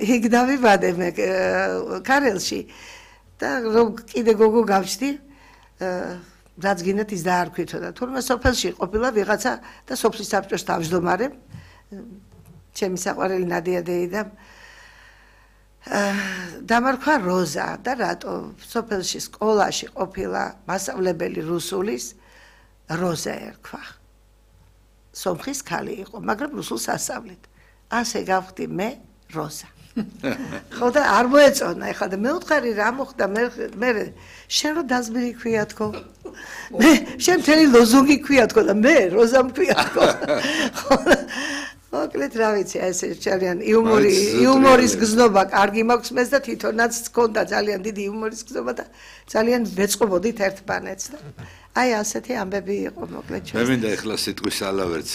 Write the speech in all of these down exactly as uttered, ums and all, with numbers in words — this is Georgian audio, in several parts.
იქ დავიბადე მე ქარელში და რომ კიდე გოგო გავჩდი რაც გინდათ ის დაარქვითო და თურმე სოფელში ყოფილა ვიღაცა და სოფლის საბჭოს თავმჯდომარე ჩემი საყვარელი ნადია დეიდა დამარქვა როზა და რატო სოფელში სკოლაში ყოფილა მასწავლებელი რუსულის როზა ერქვა სომხის ქალი იყო მაგრამ რუსულს ასწავლეთ ასე გავხდი მე როზა ხო და არ მოეწონა ეხლა და მე ვთხარი რა მოხდა მე მე შენ რო დაზბირი ქვია თქო მე შენ მთელი ლოზუნგი ქვია თქო და მე როზა მქვია თქო ხო მოკლედ რა ვიცი ესე ძალიან იუმორი იუმორის გზნობა კარგი მაქვს მეც და თვითონაც გქონდა ძალიან დიდი იუმორის გზნობა და ძალიან ვეწყობოდით ერთმანეთს და აი ასეთი ამბები იყო მოკლედ ჩვენ მე მინდა ეხლა სიტყვის ალავერც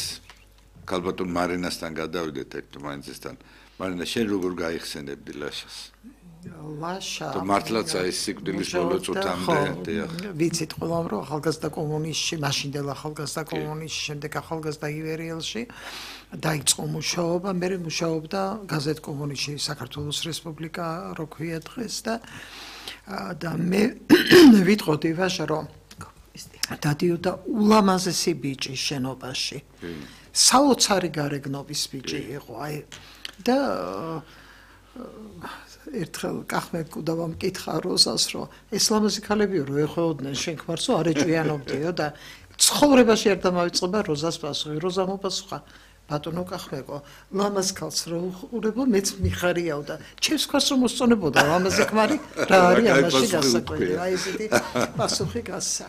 ქალბატონ მარინასთან გადავიდეთ ერთმანეთსთან მარინა შენ როგორ გაიხსენებდი ლაშას ლაშა და მართლაც აი სიკვდილის ბოლო წუთამდე დიახ ვიცით ყველამ რომ ახალგაზრდა კომუნისტში მაშინდელ ახალგაზრდა კომუნისტში შემდეგ ახალგაზრდა ივერიელში დაიწყო მუშაობა მე მუშაობდა გაზეთ კომუნისტში საქართველოს რესპუბლიკა რო ქვია დღეს და და მე ვიტყოდი ვაშა რომ დადიოდა ულამაზესი ბიჭი შენობაში საოცარი გარეგნობის ბიჭი იყო აი და ერთხელ კახმე კუდავამ მკითხა როზას რომ ეს ლამაზი ქალებიო რო ეხვეოდნენ შენ ქმარსო არ ეჭვიანობდიო და ცხოვრებაში არ დამავიწყება როზას პასუხი როზა მოპასუხა ბატონო კახმეკო ლამაზ ქალს რო უყურებო მეც მიხარიაო და ჩემს ქარს რომ მოსწონებოდა ლამაზი ქმარი რა არის ამაში გასაკვირი აი ესეთი პასუხი გასცა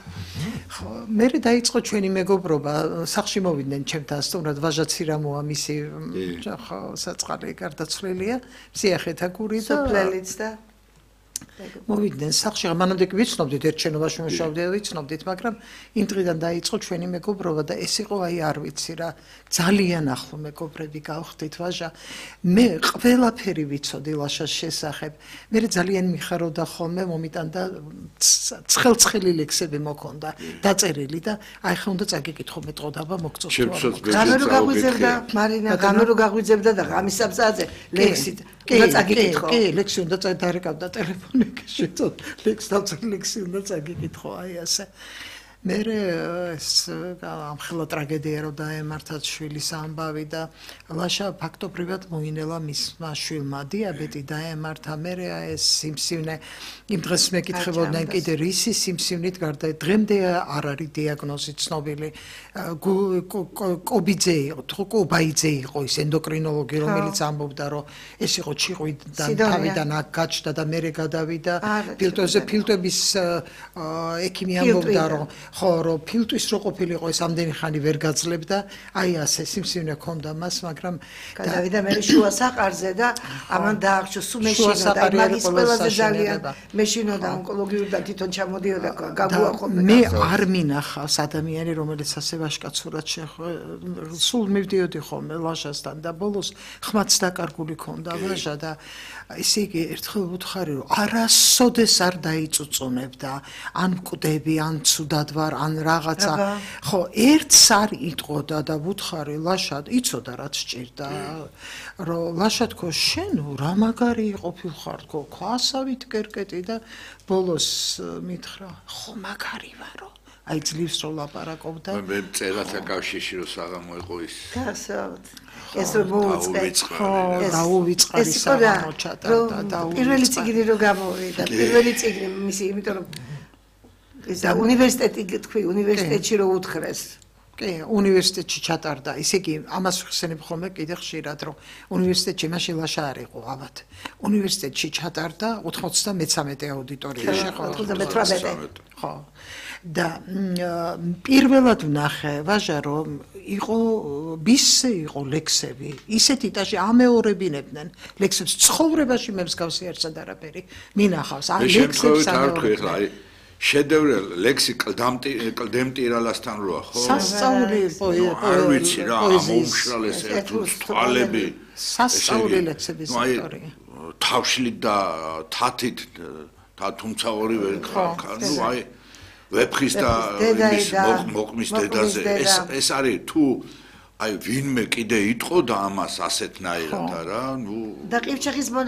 ხო მე დაიწყო ჩვენი მეგობრობა სახში მოვიდნენ ჩემთან სტუმრად ვაჟა ცირამოა მისი ხო საწყალი გარდაცვლილია სიახეთა გური და სოფლელიც და მოვიდნენ სახში მანამდე ვიცნობდით ერთ შენობაში მუშაობდით ვიცნობდით მაგრამ იმ დღიდან დაიწყო ჩვენი მეგობრობა და ეს იყო აი არ ვიცი რა ძალიან ახლო მეგობრები გავხდით ვაჟა მე ყველაფერი ვიცოდი ლაშას შესახებ მე ძალიან მიხარობდა ხოლმე მომიტანდა ცხელ-ცხელი ლექსები მოქონდა დაწერილი და აი ხა უნდა წაგიკითხო მეტყოდაბა მოგწოს გამერო გაგვიძებდა მარინა გამერო გაგვიძებდა და გამისაბზაძე ლექსით უნდა წაგიკითხო კი ლექსი უნდა წადარეკავდა ტელეფონი შეწოდ ლექს დავწერე ლექსი უნდა წაგიკითხო აი ასე მე ეს ამხელა ტრაგედია რომ დაემართათ შვილის ამბავი და ლაშა ფაქტობრივად მოინელა მისმა შვილმა დიაბეტი დაემართა მე ეს სიმსივნე იმ დღეს მეკითხებოდნენ კიდე რისი სიმსივნით გარდა დღემდე არ არის დიაგნოზი ცნობილი კობიძე იყო თუ კობაიძე იყო ის ენდოკრინოლოგი რომელიც ამბობდა რომ ეს იყო ჩიყვიდან თავიდან აქ გაჩნდა და მე გადავიდა ფილტვებზე ფილტვების ექიმი ამბობდა რომ ხო რომ ფილტვის რო ყოფილიყო ეს ამდენი ხანი ვერ გაძლებდა აი ასე სიმსივნე ქონდა მას მაგრამ გადავიდა მე შუა საყარზე და ამან დაახშო სულ მეშინოდა მაგის ყველაზე ძალიან მეშინოდა ონკოლოგიურიდან თვითონ ჩამოდიოდა გაგუახონდა მე არ მინახავს ადამიანი რომელიც ასე ვაშკაცურად სულ მივდიოდი ხოლმე ლაშასთან და ბოლოს ხმაც დაკარგული ქონდა ვაჟა და ესე იგი ერთხელ ვუთხარი რომ არასოდეს არ დაიწუწუნებდა ან მკვდები ან ცუდად ვარ ან რაღაცა ხო ერთს არ იტყოდა და ვუთხარი ლაშად იცოდა რაც სჭირდა რომ ლაშა თქო შენ რა მაგარი ყოფილხარ თქო ქვასავით კერკეტი და ბოლოს მითხრა ხო მაგარი ვარო აი ძლივს რო ლაპარაკობდა მე წერათა კავშირში რო საღამო იყო ის გასავთ ეს მოუწყე დაუვიწყარი საღამო ჩატარდა და პირველი წიგნი რო გამოვიდა პირველი წიგნი მისი იმიტომ რომ ეს უნივერსიტეტი თქვი უნივერსიტეტში რო უთხრეს კი უნივერსიტეტში ჩატარდა ისე კი ამას ხსენებ ხოლმე კიდე ხშირად რომ უნივერსიტეტში მაშინ ლაშა არ იყო ალბათ უნივერსიტეტში ჩატარდა ოთხმოცდამეცამეტე აუდიტორიაში ხო ოცდამეთვრამეტე ხო და პირველად ვნახე ვაჟა რომ იყო ბისზე იყო ლექსები ისეთი ტაჟი ამეორებინებდნენ ლექსებს ცხოვრებაში მე მსგავსი არცად არაფერი მინახავს ან ლექსებს ამეორებინებდნენ შედევრე ლექსი კლდემტირალასთან როა ხო სასწაული პოეზია არ ვიცი რა მომშრალეს ერთუს თვალები სასწაული ლექსების ავტორი თავშლით და თათით და თუმცა ორივე ნუ აი ვეფხის და მოყმის დედაზე ეს ეს არის თუ აი ვინმე კიდე იტყოდა ამას ასეთნაირად არა? ნუ და ყივჩეხის მონა